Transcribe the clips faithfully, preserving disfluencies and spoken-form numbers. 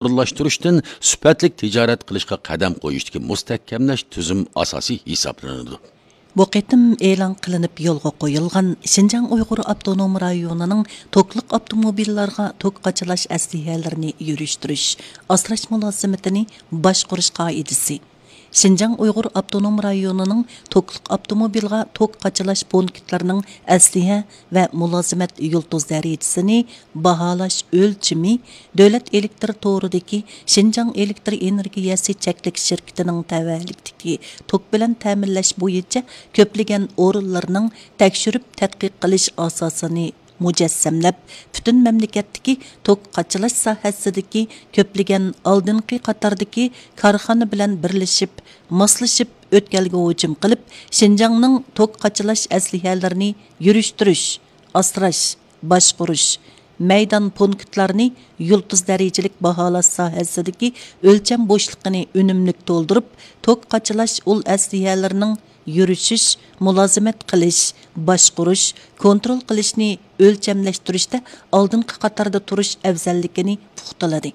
ئورۇنلاشتۇرۇشتىن سۈپەتلىك تىجارەت قىلىشقا قەدەم قويۇشتىكى مۇستەھكەملەش تۈزۈم ئاساسى ھېسابلىنىدۇ. بۇ قېتىم ئېلان قىلىنىپ يولغا قويۇلغان شىنجاڭ ئۇيغۇر ئاپتونوم رايونىنىڭ توكلۇق ئاپتوموبىللارغا توك قاچىلاش ئەسلىھەلىرىنى يۈرۈشتۈرۈش، ئاسراش مۇلازىمىتىنى باشقۇرۇش قائىدىسى، شىنجاڭ ئۇيغۇر ئاپتونوم رايونىنىڭ توكلۇق ئاپتوموبىلغا توك قاچىلاش پونكىتلىرىنىڭ ئەسلىھە ۋە مۇلازىمەت يۇلتۇز دەرىجىسىنى باھالاش ئۆلچىمى دۆلەت ئېلېكتىر تورىدىكى شىنجاڭ ئېلېكتىر ئېنېرگىيەسى چەكلىك شىركىتىنىڭ تەۋەلىكىدىكى توك بىلەن تەمىنلەش بويىچە كۆپلىگەن ئورۇنلارنىڭ تەكشۈرۈپ تەتقىق قىلىش ئاساسىنى مۇجەسسەملەپ، پۈتۈن مەملىكەتتىكى توك قاچىلاش ساھەسىدىكى كۆپلىگەن ئالدىنقى قاتاردىكى كارخانا بىلەن بىرلىشىپ، ماسلىشىپ ئۆتكەلگە ھۇجۇم قىلىپ، شىنجاڭنىڭ توك قاچىلاش ئەسلىھەلىرىنى يۈرۈشتۈرۈش، ئاسراش، باشقۇرۇش، مەيدان پونكىتلارنى يۇلتۇز دەرىجىلىك باھالاش ساھەسىدىكى ئۆلچەم بوشلۇقىنى ئۈنۈملۈك تولدۇرۇپ، توك قاچىلاش ئۇل ئەسلىھەلىرىنىڭ يۈرۈشۈش، مۇلازىمەت قىلىش، باشقۇرۇش، كونترول قىلىشنى ئۆلچەملەشتۈرۈشتە ئالدىنقى قاتاردا تۇرۇش ئەۋزەللىكىنى پۇختىلىدى.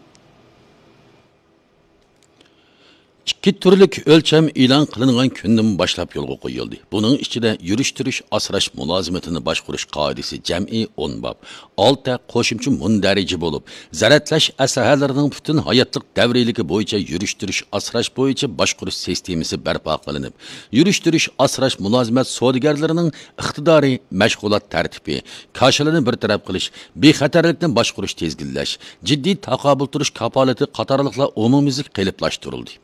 ئىككى تۈرلۈك ئۆلچەم ئېلان قىلىنغان كۈندىن باشلاپ يولغا قويۇلدى. بۇنىڭ ئىچىدە يۈرۈشتۈرۈش ئاسراش مۇلازىمىتىنى باشقۇرۇش قائىدىسى جەمئىي ئون باب، ئالتە قوشۇمچە مۇندەرىجە بولۇپ، زەرەتلەش ئەسلىھەلىرىنىڭ پۈتۈن ھاياتلىق دەۋرىيلىكى بويىچە يۈرۈشتۈرۈش ئاسراش بويىچە باشقۇرۇش سىستېمىسى بەرپا قىلىنىپ، يۈرۈشتۈرۈش ئاسراش مۇلازىمەت سودىگەرلىرىنىڭ ئىقتىدارى، مەشغۇلات تەرتىپى، كاشىلىنى بىر تەرەپ قىلىش، بىخەتەرلىكنى باشقۇرۇش، تىزگىنلەش، جىددىي تاقابىل تۇرۇش كاپالىتى قاتارلىقلار ئومۇميۈزلۈك قېلىپلاشتۇرۇلدى.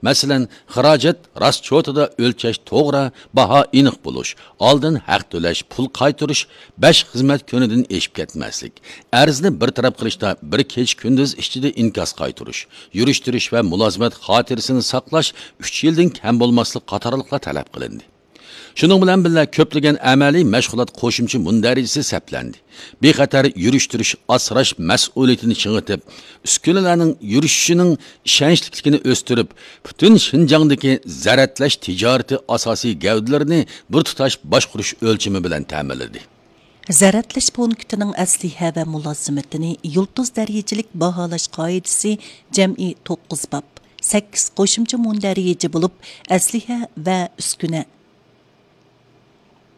مەسىلەن، خىراجەت راسچوتىدا ئۆلچەش توغرا، باھا ئېنىق بولۇش، ئالدىن ھەق تۆلەش، پۇل قايتۇرۇش، بەش خىزمەت كۈنىدىن ئېشىپ كەتمەسلىك، ئەرزنى بىر تەرەپ قىلىشتا بىر كېچە كۈندۈز ئىچىدە ئىنكاس قايتۇرۇش، يۈرۈشتۈرۈش ۋە مۇلازىمەت خاتىرىسىنى ساقلاش ئۈچ يىلدىن كەم بولماسلىق قاتارلىقلار تەلەپ قىلىندى. شۇنىڭ بىلەن بىللە، كۆپلىگەن ئەمەلىي مەشغۇلات قوشۇمچە مۇندەرىجىسى سەپلەندى. بىخەتەر يۈرۈشتۈرۈش ئاسراش مەسئۇلىيىتىنى چىڭىتىپ، ئۈسكۈنىلەرنىڭ يۈرۈشۈشىنىڭ ئىشەنچلىكلىكىنى ئۆستۈرۈپ، پۈتۈن شىنجاڭدىكى زەرەتلەش تىجارىتى ئاساسىي گەۋدىلىرىنى بىر تۇتاش باشقۇرۇش ئۆلچىمى بىلەن تەمىنلىدى. زەرەتلەش پونكىتىنىڭ ئەسلىھە ۋە مۇلازىمىتىنى يۇلتۇز دەرىجىلىك باھالاش قائىدىسى جەمئىي توققۇز باب، سەككىز قوشۇمچە مۇندەرىجە بولۇپ، ئەسلىھە ۋە ئۈسكۈنە،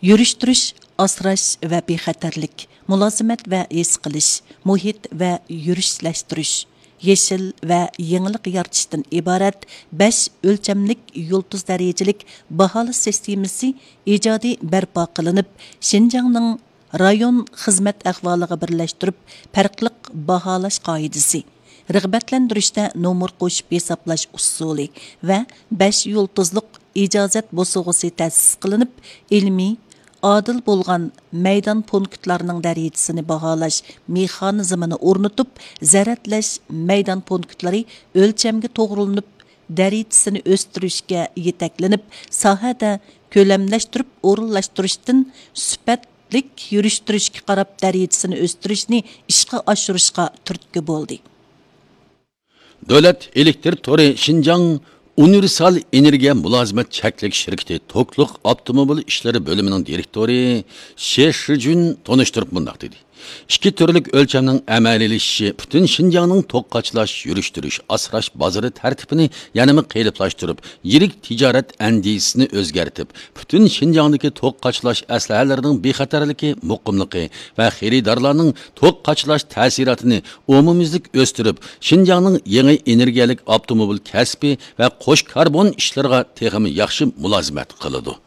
يۈرۈشتۈرۈش، ئاسراش ۋە بىخەتەرلىك، مۇلازىمەت ۋە ھېس قىلىش، مۇھىت ۋە يۈرۈشلەشتۈرۈش، يېشىل ۋە يېڭىلىق يارىتىشتىن ئىبارەت بەش ئۆلچەملىك يۇلتۇز دەرىجىلىك باھالاش سىستېمىسى ئىجادىي بەرپا قىلىنىپ، شىنجاڭنىڭ رايون خىزمەت ئەھۋالىغا بىرلەشتۈرۈپ پەرقلىق باھالاش قائىدىسى، رىغبەتلەندۈرۈشتە نومۇر قوشۇپ ھېسابلاش ئۇسۇلى ۋە بەش يۇلتۇزلۇق ئىجازەت بوسۇغىسى تەسىس قىلىنىپ، ئىلمىي، ئادىل بولغان مەيدان پونكىتلارنىڭ دەرىجىسىنى باھالاش مېخانىزمىنى ئورنىتىپ، زەرەتلەش مەيدان پونكىتلىرى ئۆلچەمگە توغرىلىنىپ، دەرىجىسىنى ئۆستۈرۈشكە يېتەكلىنىپ، ساھەدە كۆلەملەشتۈرۈپ ئورۇنلاشتۇرۇشتىن سۈپەتلىك يۈرۈشتۈرۈشكە قاراپ دەرىجىسىنى ئۆستۈرۈشنى ئىشقا ئاشۇرۇشقا تۈرتكە بولدى. دۆلەت ئېلېكتىر تورى شىنجاڭ ئۇنىۋېرسال ئېنېرگىيە مۇلازىمەت چەكلىك شىركىتى توكلۇق ئاپتوموبىل ئىشلىرى بۆلۈمىنىڭ دىرېكتورى شې شىجۈن تونۇشتۇرۇپ مۇنداق دېدى: ئىككى تۈرلۈك ئۆلچەمنىڭ ئەمەلىيلىشىشى پۈتۈن شىنجاڭنىڭ توك قاچىلاش، يۈرۈشتۈرۈش، ئاسراش بازىرى تەرتىپىنى يەنىمۇ قېلىپلاشتۇرۇپ، يىرىك تىجارەت ئەندىزىسىنى ئۆزگەرتىپ، پۈتۈن شىنجاڭدىكى توك قاچىلاش ئەسلىھەلىرىنىڭ بىخەتەرلىكى، مۇقىملىقى ۋە خېرىدارلارنىڭ توك قاچىلاش تەسىراتىنى ئومۇميۈزلۈك ئۆستۈرۈپ، شىنجاڭنىڭ يېڭى ئېنېرگىيەلىك ئاپتوموبىل كەسپى ۋە قوش كاربون ئىشلىرىغا تېخىمۇ ياخشى مۇلازىمەت قىلىدۇ.